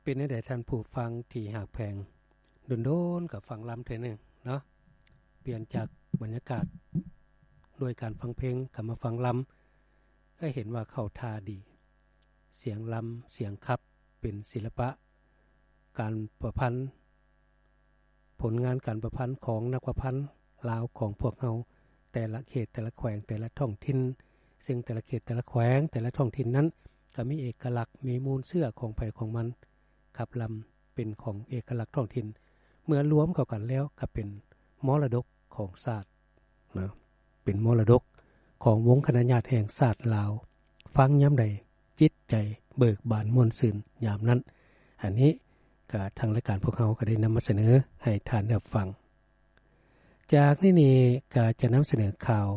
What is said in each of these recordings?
ເປັນແນວໃດທ່ານຜູ້ຟັງທີ່ຮັກແພງ? ດົນໆກໍຟັງລຳເທື່ອໜຶ່ງເນາະ, ປ່ຽນຈາກບັນຍາກາດດ້ວຍການຟັງເພງ ກໍມາຟັງລຳ, ກໍເຫັນວ່າເຂົ້າທ່າດີ. ສຽງລຳ ສຽງຂັບ ເປັນສິລະປະການປະພັນ, ຜົນງານການປະພັນຂອງນັກປະພັນລາວຂອງພວກເຮົາ, ແຕ່ລະເຂດ ແຕ່ລະແຂວງ ແຕ່ລະທ້ອງຖິ່ນ, ເຊິ່ງແຕ່ລະເຂດ ແຕ່ລະແຂວງ ແຕ່ລະທ້ອງຖິ່ນນັ້ນ ກໍມີເອກະລັກ ມີມູນເຊື້ອຂອງໃຜຂອງມັນ. ຂັບລຳເປັນຂອງເອກະລັກທ້ອງຖິ່ນ, ເມື່ອລວມເຂົ້າກັນແລ້ວກໍເປັນມໍລະດົກຂອງຊາດນະ, ເປັນມໍລະດົກຂອງວົງຄະນະຍາດແຫ່ງຊາດລາວ. ຟັງຍາມໃດ ຈິດໃຈເບີກບານມ່ວນຊື່ນຍາມນັ້ນ. ອັນນີ້ກໍທາງລາຍການພວກເຮົາກໍໄດ້ນຳມາສະເໜີໃຫ້ທ່ານໄດ້ຮັບຟັງ. ຈາກນີ້ນີ້ກໍຈະນຳສະເໜີຂ່າວ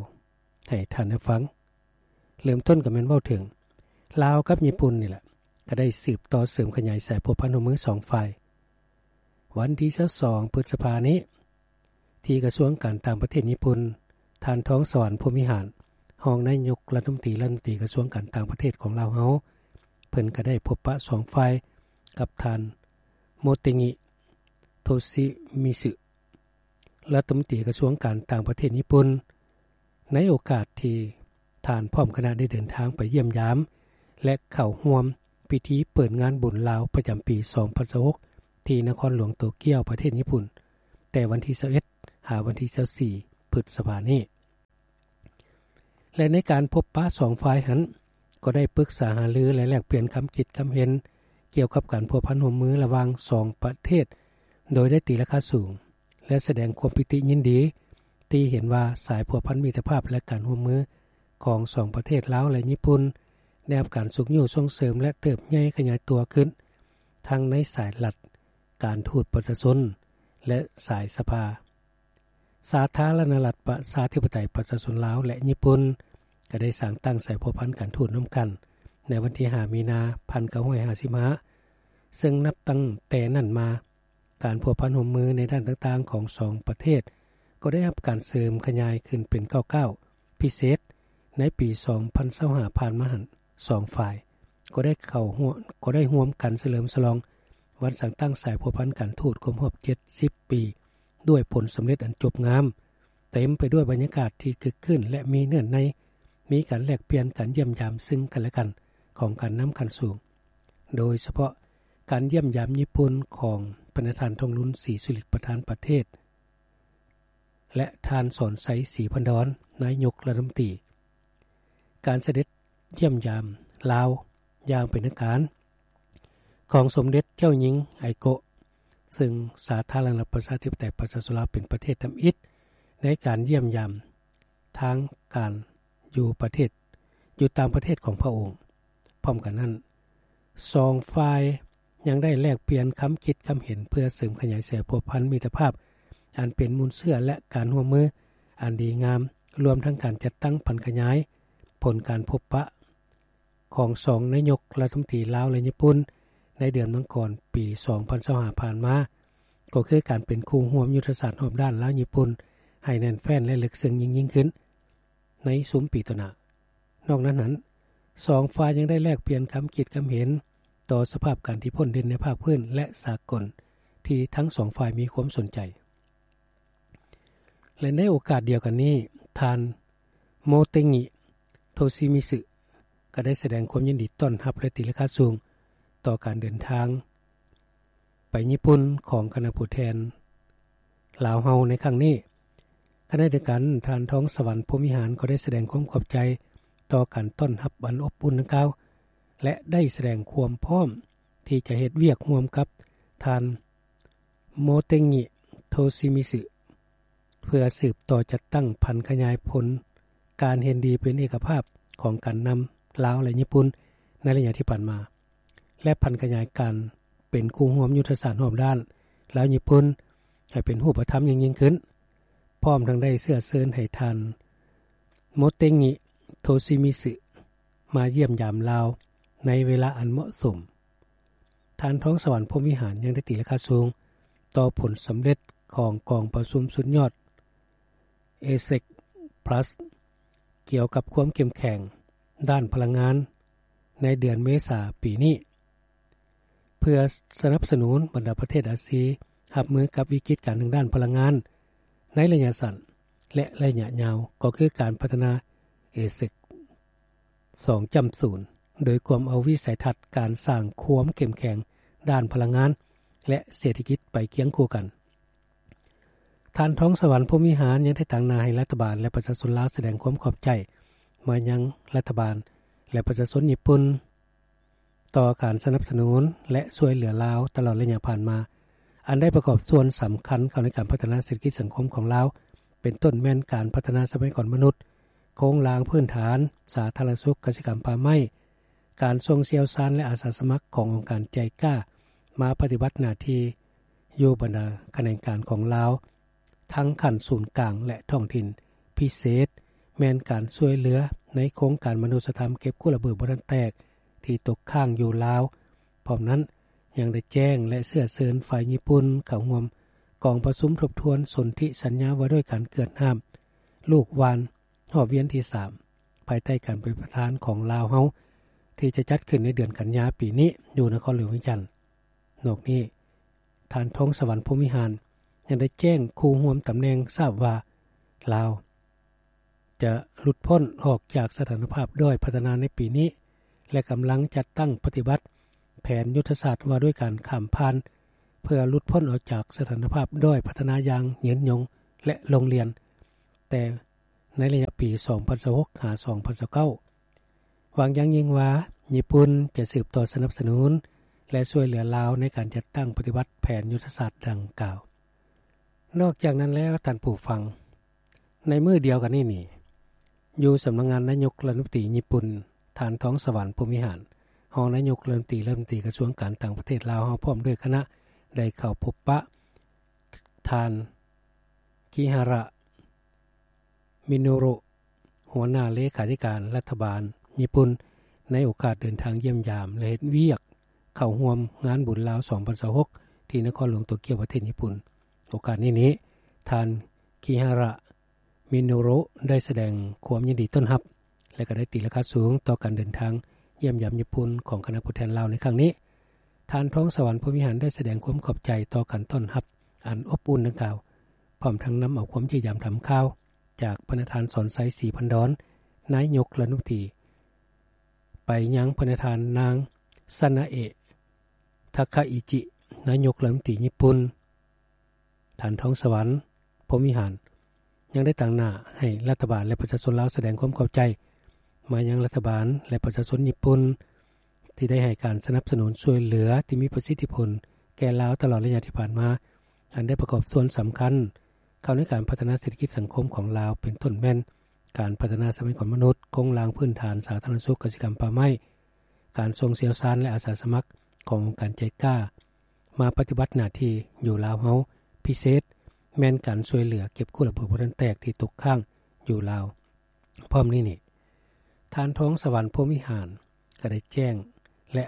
ໃຫ້ທ່ານໄດ້ຟັງ. ເລີ່ມຕົ້ນກໍແມ່ນເວົ້າເຖິງລາວກັບຍີ່ປຸ່ນນີ້ແຫຼະ, ກໍໄດ້ສືບຕໍ່ເສີມຂະຫຍາຍສາຍພົວພັນຮ່ວມມືສອງຝ່າຍ. ວັນທີຊາວສອງ ພຶດສະພານີ້ ທີ່ກະຊວງການຕ່າງປະເທດຍີ່ປຸ່ນ, ທ່ານ ທອງສະຫວັນ ພົມວິຫານ ຮອງນາຍົກລັດຖະມົນຕີ ລັດຖະມົນຕີກະຊວງການຕ່າງປະເທດຂອງລາວເຮົາ, ເພິ່ນກໍໄດ້ພົບປະສອງຝ່າຍກັບທ່ານ ໂມເຕງິ ໂທຊິມິຊຶ ລັດຖະມົນຕີກະຊວງການຕ່າງປະເທດຍີ່ປຸ່ນ, ໃນໂອກາດທີ່ທ່ານພ້ອມຄະນະໄດ້ເດີນທາງໄປຢ້ຽມຢາມ ແລະ ເຂົ້າຮ່ວມພິທີເປີດງານບຸນລາວປະຈຳປີສອງພັນຊາວຫົກ ທີ່ນະຄອນຫຼວງໂຕກຽວ ປະເທດຍີ່ປຸ່ນ ແຕ່ວັນທີຊາວເອັດ ຫາວັນທີຊາວສີ່ ພຶດສະພານີ້. ແລະ ໃນການພົບປະສອງຝ່າຍຫັ້ນ ກໍໄດ້ປຶກສາຫາລື ແລະ ແລກປ່ຽນຄຳຄິດຄຳເຫັນກ່ຽວກັບການພົວພັນຮ່ວມມືລະຫວ່າງສອງປະເທດ ໂດຍໄດ້ຕີລາຄາສູງ ແລະ ສະແດງຄວາມປີຕິຍິນດີທີ່ເຫັນວ່າສາຍພົວພັນມິດຕະພາບ ແລະ ການຮ່ວມມືຂອງສອງປະເທດລາວ ແລະ ຍີ່ປຸ່ນ ໄດ້ຮັບການຊຸກຍູ້ສົ່ງເສີມ ແລະ ເຕີບໃຫຍ່ຂະຫຍາຍຕົວຂຶ້ນ ທັງໃນສາຍລັດ, ການທູດປະຊາຊົນ ແລະ ສາຍສະພາ. ສາທາລະນະລັດປະຊາທິປະໄຕປະຊາຊົນລາວ ແລະ ຍີ່ປຸ່ນ ກໍໄດ້ສ້າງຕັ້ງສາຍພົວພັນການທູດນຳກັນ ໃນວັນທີຫ້າ ມີນາ ພັນເກົ້າຮ້ອຍຫ້າສິບຫ້າ ເຊິ່ງນັບຕັ້ງແຕ່ນັ້ນມາ, ການພົວພັນຮ່ວມມືໃນດ້ານຕ່າງໆຂອງສອງປະເທດ ກໍໄດ້ຮັບການເສີມຂະຫຍາຍຂຶ້ນເປັນກ້າວໆ ພິເສດໃນປີສອງພັນຊາວຫ້າຜ່ານມາຫັ້ນ, ສອງຝ່າຍກໍໄດ້ເຂົ້າຮ່ວມ, ກໍໄດ້ຮ່ວມກັນສະເຫຼີມສະຫຼອງວັນສ້າງຕັ້ງສາຍພົວພັນການທູດຄົບຮອບເຈັດສິບປີ ດ້ວຍຜົນສຳເລັດອັນຈົບງາມ, ເຕັມໄປດ້ວຍບັນຍາກາດທີ່ຄຶກຄື້ນ ແລະ ມີເນື້ອໃນ, ມີການແລກປ່ຽນ, ການຢ້ຽມຢາມຊຶ່ງກັນ ແລະ ກັນຂອງການນຳຂັ້ນສູງ, ໂດຍສະເພາະການຢ້ຽມຢາມຍີ່ປຸ່ນຂອງພະນະທ່ານ ທອງລຸນ ສີສຸລິດ ປະທານປະເທດ ແລະ ທ່ານ ສອນໄຊ ສີພັນດອນ ນາຍົກລັດຖະມົນຕີ. ການສະເດັດຢ້ຽມຢາມລາວຢ່າງເປັນທາງການຂອງສົມເດັດເຈົ້າຍິງ ໄອໂກະ ເຊິ່ງສາທາລະນະລັດປະຊາທິປະໄຕປະຊາຊົນລາວເປັນປະເທດທຳອິດໃນການຢ້ຽມຢາມທາງການຢູ່ປະເທດ, ຢູ່ຕ່າງປະເທດຂອງພະອົງ. ພ້ອມກັນນັ້ນ, ສອງຝ່າຍຍັງໄດ້ແລກປ່ຽນຄຳຄິດຄຳເຫັນເພື່ອເສີມຂະຫຍາຍສາຍພົວພັນມິດຕະພາບອັນເປັນມູນເຊື້ອ ແລະ ການຮ່ວມມືອັນດີງາມ, ລວມທັງການຈັດຕັ້ງຜັນຂະຫຍາຍຜົນການພົບປະຂອງສອງນາຍົກລັດຖະມົນຕີລາວ ແລະ ຍີ່ປຸ່ນ ໃນເດືອນມັງກອນປີສອງພັນຊາວຫ້າຜ່ານມາ, ກໍຄືການເປັນຄູ່ຮ່ວມຍຸດທະສາດຮອບດ້ານລາວຍີ່ປຸ່ນໃຫ້ແໜ້ນແຟ້ນ ແລະ ເລິກເຊິ່ງຍິ່ງໆຂຶ້ນໃນຊຸມປີຕໍ່ໜ້າ. ນອກນັ້ນນັ້ນ, ສອງຝ່າຍຍັງໄດ້ແລກປ່ຽນຄຳຄິດຄຳເຫັນຕໍ່ສະພາບການທີ່ພົ້ນເດັ່ນໃນພາກພື້ນ ແລະ ສາກົນ ທີ່ທັງສອງຝ່າຍມີຄວາມສົນໃຈ. ແລະ ໃນໂອກາດດຽວກັນນີ້, ທ່ານ ໂມເຕງິ ໂທຊິມິຊຶ ກໍໄດ້ສະແດງຄວາມຍິນດີຕ້ອນຮັບ ແລະ ຕີລາຄາສູງຕໍ່ການເດີນທາງໄປຍີ່ປຸ່ນຂອງຄະນະຜູ້ແທນລາວເຮົາໃນຄັ້ງນີ້. ຂະນະດຽວກັນ, ທ່ານ ທອງສະຫວັນ ພົມວິຫານ ກໍໄດ້ສະແດງຄວາມຂອບໃຈຕໍ່ການຕ້ອນຮັບອັນອົບອຸ່ນດັ່ງກ່າວ ແລະ ໄດ້ສະແດງຄວາມພ້ອມທີ່ຈະເຮັດວຽກຮ່ວມກັບທ່ານ ໂມເຕງິ ໂທຊິມິຊຶ ເພື່ອສືບຕໍ່ຈັດຕັ້ງຜັນຂະຫຍາຍຜົນການເຫັນດີເປັນເອກະພາບຂອງການນຳລາວ ແລະ ຍີ່ປຸ່ນໃນໄລຍະທີ່ຜ່ານມາ ແລະ ຜັນຂະຫຍາຍການເປັນຄູ່ຮ່ວມຍຸດທະສາດຮອບດ້ານລາວຍີ່ປຸ່ນໃຫ້ເປັນຮູບປະທຳຍິ່ງໆຂຶ້ນ, ພ້ອມທັງໄດ້ເຊື້ອເຊີນໃຫ້ທ່ານ ໂມເຕງິ ໂທຊິມິຊຶ ມາຢ້ຽມຢາມລາວໃນເວລາອັນເໝາະສົມ. ທ່ານ ທອງສະຫວັນ ພົມວິຫານ ຍັງໄດ້ຕີລາຄາສູງຕໍ່ຜົນສຳເລັດຂອງກອງປະຊຸມສຸດຍອດ ເອເຊັກ ພລັສ ກ່ຽວກັບຄວາມເຂັ້ມແຂງດ້ານພະລັງງານໃນເດືອນເມສາປີນີ້. ເພື່ອສະໜັບສະໜູນບັນດາປະເທດອາຊີຮັບມືກັບວິກິດການທາງດ້ານພະລັງງານໃນໄລຍະສັ້ນ ແລະ ໄລຍະຍາວ ກໍຄືການພັດທະນາເອເຊັກ ສອງຈຸດສູນ ໂດຍກວມເອົາວິໄສທັດການສ້າງຄວາມເຂັ້ມແຂງດ້ານພະລັງງານ ແລະ ເສດຖະກິດໄປຄຽງຄູ່ກັນ. ທ່ານ ທອງສະຫວັນ ພົມວິຫານ ຍັງໄດ້ຕາງໜ້າໃຫ້ລັດຖະບານ ແລະ ປະຊາຊົນລາວສະແດງຄວາມຂອບໃຈມາຍັງລັດຖະບານ ແລະ ປະຊາຊົນຍີ່ປຸ່ນ ຕໍ່ການສະໜັບສະໜູນ ແລະ ຊ່ວຍເຫຼືອລາວຕະຫຼອດໄລຍະຜ່ານມາ ອັນໄດ້ປະກອບສ່ວນສຳຄັນເຂົ້າໃນການພັດທະນາເສດຖະກິດສັງຄົມຂອງລາວ ເປັນຕົ້ນແມ່ນການພັດທະນາຊັບພະຍາກອນມະນຸດ, ໂຄງລ່າງພື້ນຖານ, ສາທາລະນະສຸກ, ກະສິກຳ, ປ່າໄມ້, ການສົ່ງຊ່ຽວຊານ ແລະ ອາສາສະໝັກຂອງອົງການໄຈກາ ມາປະຕິບັດໜ້າທີ່ຢູ່ບັນດາຂະແໜງການຂອງລາວ ທັງຂັ້ນສູນກາງ ແລະ ທ້ອງຖິ່ນ, ພິເສດແມ່ນການຊ່ວຍເຫຼືອໃນໂຄງການມະນຸດສະທຳເກັບກູ້ລະເບີດບໍ່ທັນແຕກທີ່ຕົກຄ້າງຢູ່ລາວ. ພ້ອມນັ້ນ ຍັງໄດ້ແຈ້ງ ແລະ ເຊື້ອເຊີນຝ່າຍຍີ່ປຸ່ນເຂົ້າຮ່ວມກອງປະຊຸມທົບທວນສົນທິສັນຍາວ່າດ້ວຍການເກືອດຫ້າມລູກຫວ່ານຮອບວຽນທີສາມ ພາຍໃຕ້ການເປັນປະທານຂອງລາວເຮົາ ທີ່ຈະຈັດຂຶ້ນໃນເດືອນກັນຍາປີນີ້ຢູ່ນະຄອນຫຼວງວຽງຈັນ. ນອກນີ້ ທ່ານ ທອງສະຫວັນ ພົມວິຫານ ຍັງໄດ້ແຈ້ງຄູ່ຮ່ວມຕຳແໜ່ງຊາບວ່າ ລາວຈະຫຼຸດພົ້ນອອກຈາກສະຖານະພາບດ້ອຍພັດທະນາໃນປີນີ້ ແລະ ກຳລັງຈັດຕັ້ງປະຕິບັດແຜນຍຸດທະສາດວ່າດ້ວຍການຂ້າມຜ່ານ ເພື່ອຫຼຸດພົ້ນອອກຈາກສະຖານະພາບດ້ອຍພັດທະນາຢ່າງຍືນຍົງ ແລະ ລົງລຽນ ແຕ່ໃນໄລຍະປີສອງພັນຊາວຫົກ ຫາ ສອງພັນຊາວເກົ້າ ຫວັງຢ່າງຍິ່ງວ່າຍີ່ປຸ່ນຈະສືບຕໍ່ສະໜັບສະໜູນ ແລະ ຊ່ວຍເຫຼືອລາວໃນການຈັດຕັ້ງປະຕິບັດແຜນຍຸດທະສາດດັ່ງກ່າວ. ນອກຈາກນັ້ນແລ້ວ ທ່ານຜູ້ຟັງ, ໃນມື້ດຽວກັນນີ້ນີ້ ຢູ່ສຳນັກງານນາຍົກລັດຖະມົນຕີຍີ່ປຸ່ນ, ທ່ານ ທອງສະຫວັນ ພົມວິຫານ ຮອງນາຍົກລັດຖະມົນຕີ, ລັດຖະມົນຕີກະຊວງການຕ່າງປະເທດລາວເຮົາ ພ້ອມດ້ວຍຄະນະ ໄດ້ເຂົ້າພົບປະທ່ານ ຄິຮາຣະ ມິໂນໂຣ ຫົວໜ້າເລຂາທິການລັດຖະບານຍີ່ປຸ່ນ ໃນໂອກາດເດີນທາງຢ້ຽມຢາມ ແລະ ເຮັດວຽກເຂົ້າຮ່ວມງານບຸນລາວສອງພັນຊາວຫົກ ທີ່ນະຄອນຫຼວງໂຕກຽວ ປະເທດຍີ່ປຸ່ນ. ໂອກາດນີ້ນີ້ ທ່ານ ຄິຮາຣະ ມິໂນໂຣ ໄດ້ສະແດງຄວາມຍິນດີຕ້ອນຮັບ ແລະ ກໍໄດ້ຕີລາຄາສູງຕໍ່ການເດີນທາງຢ້ຽມຢາມຍີ່ປຸ່ນຂອງຄະນະຜູ້ແທນລາວໃນຄັ້ງນີ້. ທ່ານ ທອງສະຫວັນ ພົມວິຫານ ໄດ້ສະແດງຄວາມຂອບໃຈຕໍ່ການຕ້ອນຮັບອັນອົບອຸ່ນດັ່ງກ່າວ, ພ້ອມທັງນຳເອົາຄວາມຢ້ຽມຢາມຖາມຂ່າວຈາກພະນະທ່ານ ສອນໄຊ ສີພັນດອນ ນາຍົກລັດຖະມົນຕີ ໄປຍັງພະນະທ່ານ ນາງ ຊານາເອະ ທາຄາອິຈິ ນາຍົກລັດຖະມົນຕີຍີ່ປຸ່ນ. ທ່ານ ທອງສະຫວັນ ພົມວິຫານ ຍັງໄດ້ຕາງໜ້າໃຫ້ລັດຖະບານ ແລະ ປະຊາຊົນລາວສະແດງຄວາມຂອບໃຈມາຍັງລັດຖະບານ ແລະ ປະຊາຊົນຍີ່ປຸ່ນ ທີ່ໄດ້ໃຫ້ການສະໜັບສະໜູນຊ່ວຍເຫຼືອທີ່ມີປະສິດທິຜົນແກ່ລາວຕະຫຼອດໄລຍະທີ່ຜ່ານມາ, ອັນໄດ້ປະກອບສ່ວນສຳຄັນເຂົ້າໃນການພັດທະນາເສດຖະກິດສັງຄົມຂອງລາວ ເປັນຕົ້ນແມ່ນການພັດທະນາຊັບພະຍາກອນມະນຸດ, ໂຄງລ່າງພື້ນຖານ, ສາທາລະນະສຸກ, ກະສິກຳ, ປ່າໄມ້, ການສົ່ງຊ່ຽວຊານ ແລະ ອາສາສະໝັກຂອງອົງການໄຈກາ ມາປະຕິບັດໜ້າທີ່ຢູ່ລາວເຮົາ, ພິເສດແມ່ນການຊ່ວຍເຫຼືອເກັບກູ້ລະເບີດບໍ່ທັນແຕກທີ່ຕົກຄ້າງຢູ່ລາວ. ພ້ອມນີ້ນີ້ ທ່ານ ທອງສະຫວັນ ພົມວິຫານ ກໍໄດ້ແຈ້ງ ແລະ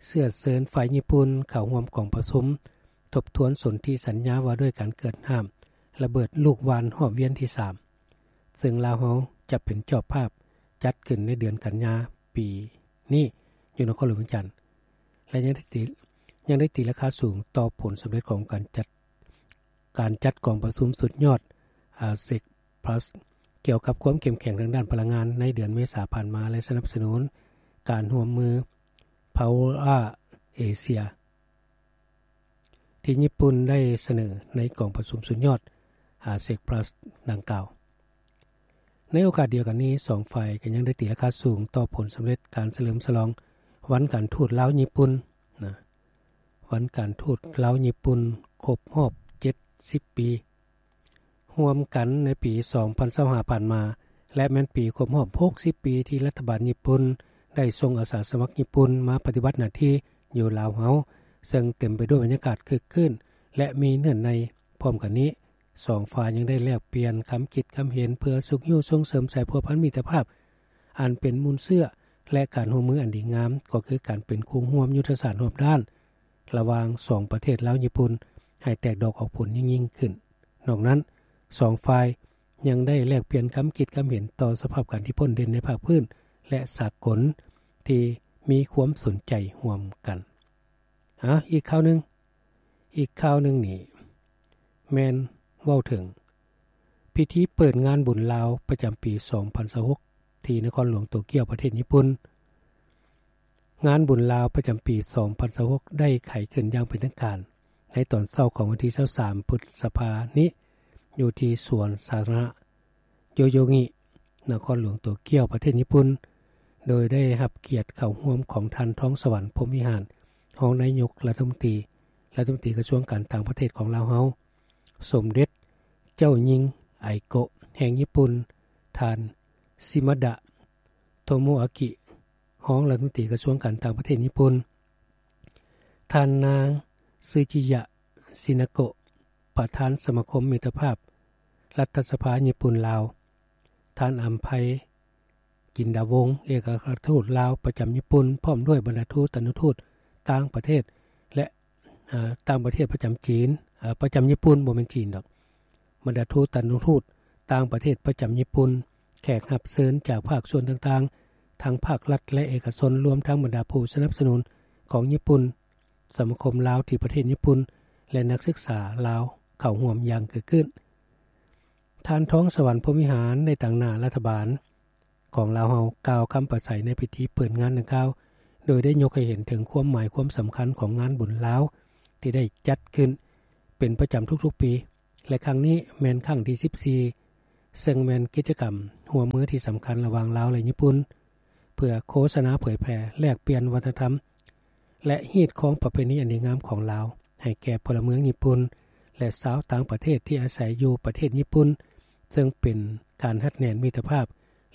ເຊື້ອເຊີນຝ່າຍຍີ່ປຸ່ນເຂົ້າຮ່ວມກອງປະຊຸມທົບທວນສົນທິສັນຍາວ່າດ້ວຍການເກີດຫ້າມລະເບີດລູກຫວ່ານຮອບວຽນທີສາມ ເຊິ່ງລາວເຮົາຈະເປັນເຈົ້າພາບຈັດຂຶ້ນໃນເດືອນກັນຍາປີນີ້ຢູ່ນະຄອນຫຼວງວຽງຈັນ ແລະ ຍັງໄດ້ຕີ ຍັງໄດ້ຕີລາຄາສູງຕໍ່ຜົນສຳເລັດຂອງການຈັດ ການຈັດກອງປະຊຸມສຸດຍອດ ເອັກເຊັກພລັສ ກ່ຽວກັບຄວາມເຂັ້ມແຂງທາງດ້ານພະລັງງານໃນເດືອນເມສາຜ່ານມາ ແລະ ສະໜັບສະໜູນການຮ່ວມມື Power Asia ທີ່ຍີ່ປຸ່ນໄດ້ສະເໜີໃນກອງປະຊຸມສຸດຍອດ ເອັກເຊັກພລັສ ດັ່ງກ່າວ. ໃນໂອກາດດຽວກັນນີ້ ສອງຝ່າຍກໍຍັງໄດ້ຕີລາຄາສູງຕໍ່ຜົນສຳເລັດການສະເຫຼີມສະຫຼອງວັນການທູດລາວຍີ່ປຸ່ນນະ ວັນການທູດລາວຍີ່ປຸ່ນຄົບຮອບເຈັດສິບປີ. ຮ່ວມກັນໃນປີສອງພັນຊາວຫ້າຜ່ານມາ ແລະ ແມ່ນປີຄົບຮອບຫົກສິບປີທີ່ລັດຖະບານຍີ່ປຸ່ນໄດ້ສົ່ງອາສາສະໝັກຍີ່ປຸ່ນມາປະຕິບັດໜ້າທີ່ຢູ່ລາວເຮົາ, ເຊິ່ງເຕັມໄປດ້ວຍບັນຍາກາດຄຶກຄື້ນ ແລະ ມີເນື້ອໃນ. ພ້ອມກັນນີ້, ສອງຝ່າຍຍັງໄດ້ແລກປ່ຽນຄຳຄິດຄຳເຫັນເພື່ອຊຸກຍູ້ສົ່ງເສີມສາຍພົວພັນມິດຕະພາບອັນເປັນມູນເຊື້ອ ແລະ ການຮ່ວມມືອັນດີງາມ, ກໍຄືການເປັນຄູ່ຮ່ວມຍຸດທະສາດຮອບດ້ານ ລະຫວ່າງສອງປະເທດລາວຍີ່ປຸ່ນ ໃຫ້ແຕກດອກອອກຜົນຍິ່ງໆຂຶ້ນ. ນອກນັ້ນ, ສອງຝ່າຍຍັງໄດ້ແລກປ່ຽນຄຳຄິດຄຳເຫັນຕໍ່ສະພາບການທີ່ພົ້ນເດັ່ນໃນພາກພື້ນ ແລະ ສາກົນ ທີ່ມີຄວາມສົນໃຈຮ່ວມກັນ. ອາ ອີກຂ່າວໜຶ່ງ, ອີກຂ່າວໜຶ່ງນີ້ແມ່ນເວົ້າເຖິງພິທີເປີດງານບຸນລາວປະຈຳປີສອງພັນຊາວຫົກ ທີ່ນະຄອນຫຼວງໂຕກຽວ ປະເທດຍີ່ປຸ່ນ. ງານບຸນລາວປະຈຳປີສອງພັນຊາວຫົກ ໄດ້ໄຂຂຶ້ນຢ່າງເປັນທາງການໃນຕອນເຊົ້າຂອງວັນທີຊາວສາມ ພຶດສະພານີ້ ຢູ່ທີ່ສວນສາທາລະນະ ໂຍໂຍງິ ນະຄອນຫຼວງໂຕກຽວ ປະເທດຍີ່ປຸ່ນ, ໂດຍໄດ້ຮັບກຽດເຂົ້າຮ່ວມຂອງທ່ານ ທອງສະຫວັນ ພົມວິຫານ ຮອງນາຍົກລັດຖະມົນຕີ, ລັດຖະມົນຕີກະຊວງການຕ່າງປະເທດຂອງລາວເຮົາ, ສົມເດັດເຈົ້າຍິງ ໄອໂກະ ແຫ່ງຍີ່ປຸ່ນ, ທ່ານ ຊິມາດະ ໂທໂມອາກິ ຮອງລັດຖະມົນຕີກະຊວງການຕ່າງປະເທດຍີ່ປຸ່ນ, ທ່ານນາງ ຊືຈິຍະ ຊິນາໂກະ ປະທານສະມາຄົມມິດຕະພາບລັດຖະສະພາຍີ່ປຸ່ນ-ລາວ, ທ່ານ ອຳໄພ ກິນດາວົງ ເອກອັກຄະລັດຖະທູດລາວປະຈຳຍີ່ປຸ່ນ ພ້ອມດ້ວຍບັນດາທູຕານຸທູດຕ່າງປະເທດ ແລະ ຕ່າງປະເທດປະຈຳຈີນ, ປະຈຳຍີ່ປຸ່ນ, ບໍ່ແມ່ນຈີນດອກ, ບັນດາທູຕານຸທູດຕ່າງປະເທດປະຈຳຍີ່ປຸ່ນ, ແຂກຮັບເຊີນຈາກພາກສ່ວນຕ່າງໆ ທັງພາກລັດ ແລະ ເອກະຊົນ, ລວມທັງບັນດາຜູ້ສະໜັບສະໜູນຂອງຍີ່ປຸ່ນ, ສະມາຄົມລາວທີ່ປະເທດຍີ່ປຸ່ນ ແລະ ນັກສຶກສາລາວເຂົ້າຮ່ວມຢ່າງເກີດຂຶ້ນ. ທ່ານ ທອງສະຫວັນ ພົມວິຫານ ໃນຕາງໜ້າລັດຖະບານຂອງລາວເຮົາ ກ່າວຄຳປາໄສໃນພິທີເປີດງານດັ່ງກ່າວ, ໂດຍໄດ້ຍົກໃຫ້ເຫັນເຖິງຄວາມໝາຍຄວາມສຳຄັນຂອງງານບຸນລາວທີ່ໄດ້ຈັດຂຶ້ນເປັນປະຈຳທຸກໆປີ ແລະ ຄັ້ງນີ້ແມ່ນຄັ້ງທີສິບສີ່ ເຊິ່ງແມ່ນກິດຈະກຳຮ່ວມມືທີ່ສຳຄັນລະຫວ່າງລາວ ແລະ ຍີ່ປຸ່ນ ເພື່ອໂຄສະນາເຜີຍແຜ່ ແລກປ່ຽນວັດທະນະທຳ ແລະ ຮີດຄອງປະເພນີອັນດີງາມຂອງລາວ ໃຫ້ແກ່ພົນລະເມືອງຍີ່ປຸ່ນ ແລະ ຊາວຕ່າງປະເທດທີ່ອາໄສຢູ່ປະເທດຍີ່ປຸ່ນ, ເຊິ່ງເປັນການຮັດແໜ້ນມິດຕະພາບ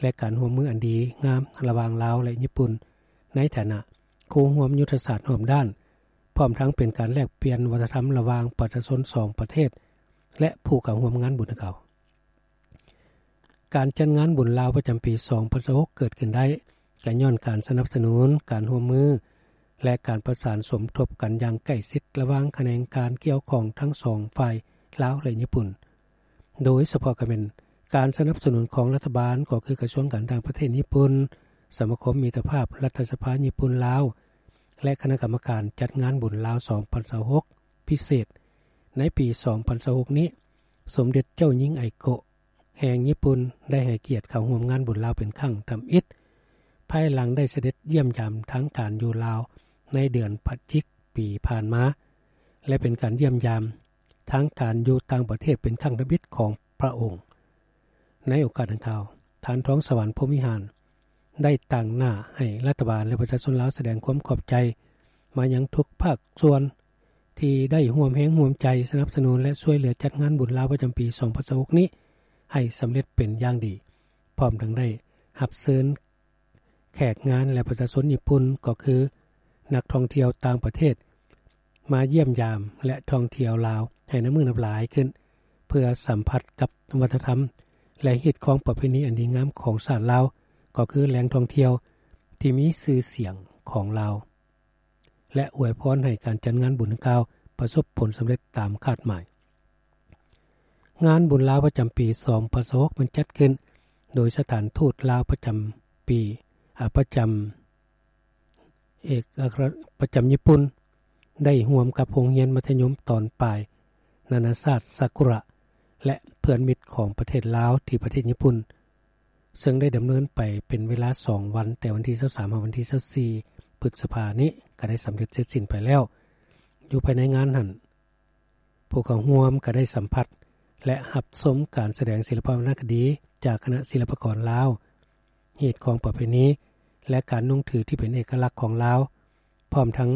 ແລະ ການຮ່ວມມືອັນດີງາມລະຫວ່າງລາວ ແລະ ຍີ່ປຸ່ນ ໃນຖານະຄູ່ຮ່ວມຍຸດທະສາດຮອບດ້ານ, ພ້ອມທັງເປັນການແລກປ່ຽນວັດທະນະທຳລະຫວ່າງປະຊາຊົນສອງປະເທດ ແລະ ຜູ້ເຂົ້າຮ່ວມງານບຸນດັ່ງກ່າວ. ການຈັດງານບຸນລາວປະຈຳປີສອງພັນຊາວຫົກ ເກີດຂຶ້ນໄດ້ ກະຍ້ອນການສະໜັບສະໜູນ, ການຮ່ວມມື ແລະ ການປະສານສົມທົບກັນຢ່າງໃກ້ຊິດລະຫວ່າງຂະແໜງການກ່ຽວຂ້ອງທັງສອງຝ່າຍ ລາວ ແລະ ຍີ່ປຸ່ນ. ໂດຍສະເພາະກະແມ່ນການສະໜັບສະໜູນຂອງລັດຖະບານ ກໍຄືກະຊວງການຕ່າງປະເທດຍີ່ປຸ່ນ, ສະມາຄົມມິດຕະພາບລັດຖະສະພາຍີ່ປຸ່ນ-ລາວ ແລະ ຄະນະກຳມະການຈັດງານບຸນລາວສອງພັນຊາວຫົກ ພິເສດ. ໃນປີສອງພັນຊາວຫົກນີ້, ສົມເດັດເຈົ້າຍິງ ໄອໂກະ ແຫ່ງຍີ່ປຸ່ນ ໄດ້ໃຫ້ກຽດເຂົ້າຮ່ວມງານບຸນລາວເປັນຄັ້ງທຳອິດ, ພາຍຫຼັງໄດ້ສະເດັດຢ້ຽມຢາມທາງການຢູ່ລາວໃນເດືອນພະຈິກປີຜ່ານມາ ແລະ ເປັນການຢ້ຽມຢາມທາງການຢູ່ຕ່າງປະເທດເປັນຄັ້ງທຳອິດຂອງພະອົງ. ໃນໂອກາດດັ່ງກ່າວ, ທ່ານ ທອງສະຫວັນ ພົມວິຫານ ໄດ້ຕາງໜ້າໃຫ້ລັດຖະບານ ແລະ ປະຊາຊົນລາວສະແດງຄວາມຂອບໃຈມາຍັງທຸກພາກສ່ວນ ທີ່ໄດ້ຮ່ວມແຮງຮ່ວມໃຈສະໜັບສະໜູນ ແລະ ຊ່ວຍເຫຼືອຈັດງານບຸນລາວປະຈຳປີສອງພັນຊາວຫົກນີ້ໃຫ້ສຳເລັດເປັນຢ່າງດີ, ພ້ອມທັງໄດ້ຮັບເຊີນແຂກງານ ແລະ ປະຊາຊົນຍີ່ປຸ່ນ ກໍຄືນັກທ່ອງທ່ຽວຕ່າງປະເທດ ມາຢ້ຽມຢາມ ແລະ ທ່ອງທ່ຽວລາວໃຫ້ນັບມື້ນັບຫຼາຍຂຶ້ນ ເພື່ອສຳຜັດກັບວັດທະນະທຳ ແລະ ຮີດຄອງປະເພນີອັນດີງາມຂອງຊາດລາວ, ກໍຄືແຫຼ່ງທ່ອງທ່ຽວທີ່ມີຊື່ສຽງຂອງລາວ. ແລະ ອວຍພອນໃຫ້ການຈັດງານບຸນດັ່ງກ່າວປະສົບຜົນສຳເລັດຕາມຄາດໝາຍ. ງານບຸນລາວປະຈຳປີສອງພັນຊາວຫົກ ແມ່ນຈັດຂຶ້ນໂດຍສະຖານທູດລາວປະຈຳປີ, ອາ, ປະຈຳເອກອັກຄະລັດ ປະຈຳຍີ່ປຸ່ນ ໄດ້ຮ່ວມກັບໂຮງຮຽນມັດທະຍົມຕອນປາຍນານາຊາດຊາກຸຣະ ແລະ ເພື່ອນມິດຂອງປະເທດລາວທີ່ປະເທດຍີ່ປຸ່ນ ເຊິ່ງໄດ້ດຳເນີນໄປເປັນເວລາສອງວັນ, ແຕ່ວັນທີຊາວສາມ ຫາວັນທີຊາວສີ່ ພຶດສະພານີ້ ກໍໄດ້ສຳເລັດເສັດສິ້ນໄປແລ້ວ. ຢູ່ພາຍໃນງານຫັ້ນ, ຜູ້ເຂົ້າຮ່ວມກໍໄດ້ສຳຜັດ ແລະ ຮັບຊົມການສະແດງສິລະປະວັນນະຄະດີຈາກຄະນະສິລະປະກອນລາວ, ຮີດຄອງປະເພນີ ແລະ ການນຸ່ງຖືທີ່ເປັນເອກະລັກຂອງລາວ, ພ້ອມທັງ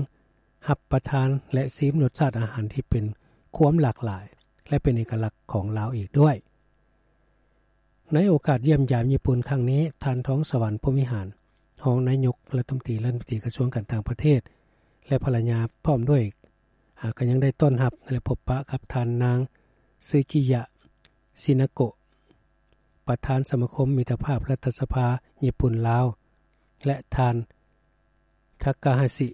ຮັບປະທານ ແລະ ຊີມລົດຊາດອາຫານທີ່ເປັນຄວາມຫຼາກຫຼາຍ ແລະ ເປັນເອກະລັກຂອງລາວອີກດ້ວຍ. ໃນໂອກາດຢ້ຽມຢາມຍີ່ປຸ່ນຄັ້ງນີ້, ທ່ານ ທອງສະຫວັນ ພົມວິຫານ ຮອງນາຍົກລັດຖະມົນຕີ, ລັດຖະມົນຕີກະຊວງການຕ່າງປະເທດ ແລະ ພັນລະຍາ ພ້ອມດ້ວຍ, ອາ, ກໍຍັງໄດ້ຕ້ອນຮັບ ແລະ ພົບປະກັບທ່ານນາງ ຊືຈິຍະ ຊິນາໂກະ ປະທານສະມາຄົມມິດຕະພາບລັດຖະສະພາຍີ່ປຸ່ນ-ລາວ ແລະ ທ່ານ ທາກາຮາຊິ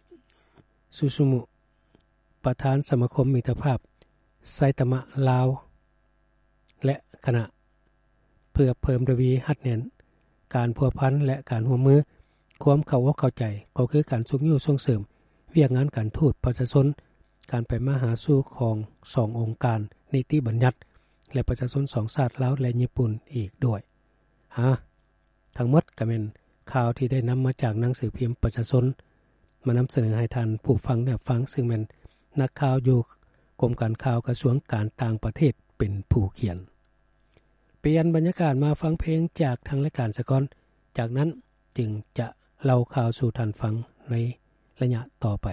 ຊູຊູມຸ ປະທານສະມາຄົມມິດຕະພາບໄຊຕະມະລາວ ແລະ ຄະນະ ເພື່ອເພີ່ມທະວີຮັດແໜ້ນການພົວພັນ ແລະ ການຮ່ວມມື, ຄວາມເຂົ້າອົກເຂົ້າໃຈ ກໍຄືການຊຸກຍູ້ສົ່ງເສີມ ວຽກງານການທູດປະຊາຊົນ, ການໄປມາຫາສູ່ຂອງສອງອົງການນິຕິບັນຍັດ ແລະ ປະຊາຊົນສອງຊາດ ລາວ ແລະ ຍີ່ປຸ່ນ ອີກດ້ວຍ. ຫາ ທັງໝົດກໍແມ່ນຂ່າວທີ່ໄດ້ນຳມາຈາກໜັງສືພິມປະຊາຊົນ ມານຳສະເໜີໃຫ້ທ່ານຜູ້ຟັງໄດ້ຮັບຟັງ, ຊຶ່ງແມ່ນນັກຂ່າວຢູ່ກົມການຂ່າວກະຊວງການຕ່າງປະເທດເປັນຜູ້ຂຽນ. ປ່ຽນບັນຍາກາດມາຟັງເພງຈາກທາງລາຍການສາກ່ອນ, ຈາກນັ້ນຈຶ່ງຈະເລົ່າຂ່າວສູ່ທ່ານຟັງໃນໄລຍະຕໍ່ໄປ.